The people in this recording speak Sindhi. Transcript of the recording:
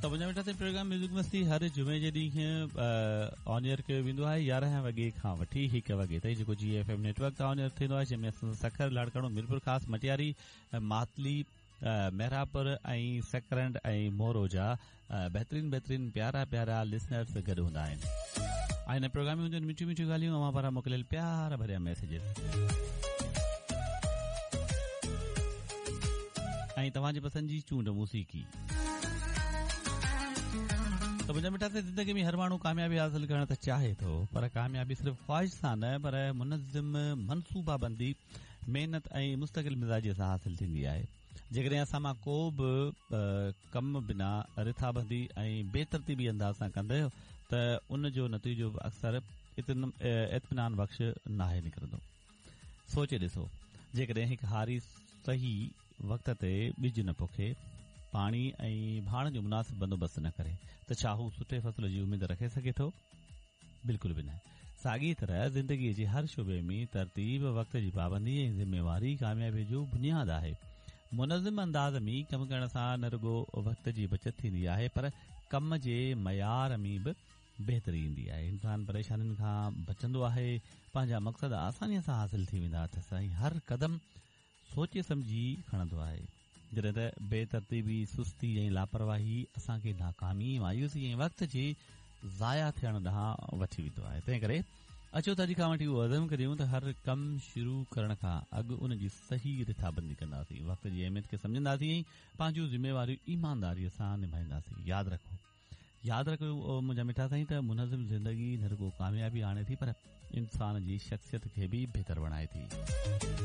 ته منهنجا مٺا سائين پروگرام ميوزڪ مستي هر جمعي جي ڏينهن آن ايئر ڪيو ويندو آهي 11 وڳي کان وٺي 1 وڳي تائين جيڪو جي ايف ايم نيٽ ورڪ تان آن ايئر ٿيندو آهي جنهن ۾ اسان سکر لاڙڪاڻو ميرپور خاص مٽياري ماتلي محرابپور ۽ سڪرنڊ ۽ مورو جا بهترين بهترين پيارا پيارا لسنرس گڏ هوندا آهن ۽ هن پروگرام ۾ هونديون آهن مٺيون مٺيون ڳالهيون اوهان پاران موڪليل پيار ڀريا ميسيجز ۽ توهان جي پسند جي چونڊ موسيقي ته منهنجا مٺا سائين زندگي ۾ هر ماڻهو ڪاميابي حاصل ڪرڻ ته چاهي ٿو پر ڪاميابي صرف خواهش سان نه پر منظم منصوبا بندي محنت ۽ مستقل مزاجي سان حاصل ٿيندي آهي جيڪڏهن اسان مان ڪو به ڪم بنا رٿابندي ۽ بي ترتيبي انداز سان ڪندو ته ان جو نتيجو به اڪثر اطمينان بخش ناهي نڪرندو. سوچي ڏسو، جيڪڏهن هڪ هاري صحيح وقت تي ٻج نه پوکي، پاڻي ۽ ڀاڻ جو مناسب بندوبست نه ڪري ته ڇا هو سٺي فصل جي اميد رکي سگهي ٿو؟ بلڪل به نه. ساڳيء طرح زندگيء جي هر شعبي ۾ ترتيب، وقت جي پابندي ۽ ذميواري ڪاميابيء جو بنياد آهي. منظم انداز ۾ ڪم ڪرڻ سان نه رڳو وقت جي بچت ٿيندي آهي پر ڪم جي معيار ۾ به بهتري ايندي آهي. انسان پريشانين کان بچندو آهي، پنهنجا مقصد آسانيء سان حاصل ٿي ويندا اٿس ۽ هر قدم سوچي سمجهي کڻندو آهي. جڏهن ته بي ترتيبي، سستي ۽ لاپرواهي اسان کي ناڪامي، مايوسي ۽ وقت جي ضايع ٿيڻ ڏانهن وٺي ويندو آهي. تنهن ڪري اچو ته اڄ کان وٺي اهو عزم ڪريون ته هر ڪم شروع ڪرڻ کان اڳ ان جي صحيح رٿابندي ڪنداسين، وقت جي اهميت کي سمجهنداسين ۽ پنهنجون ذميواريون ايمانداريء سان نڀائينداسين. ياد رکو! ياد رکو منهنجا مٺا سائين ته منظم زندگي نه رڳو ڪاميابي آڻي ٿي پر انسان جي شخصيت کي به بهتر بڻائي ٿي.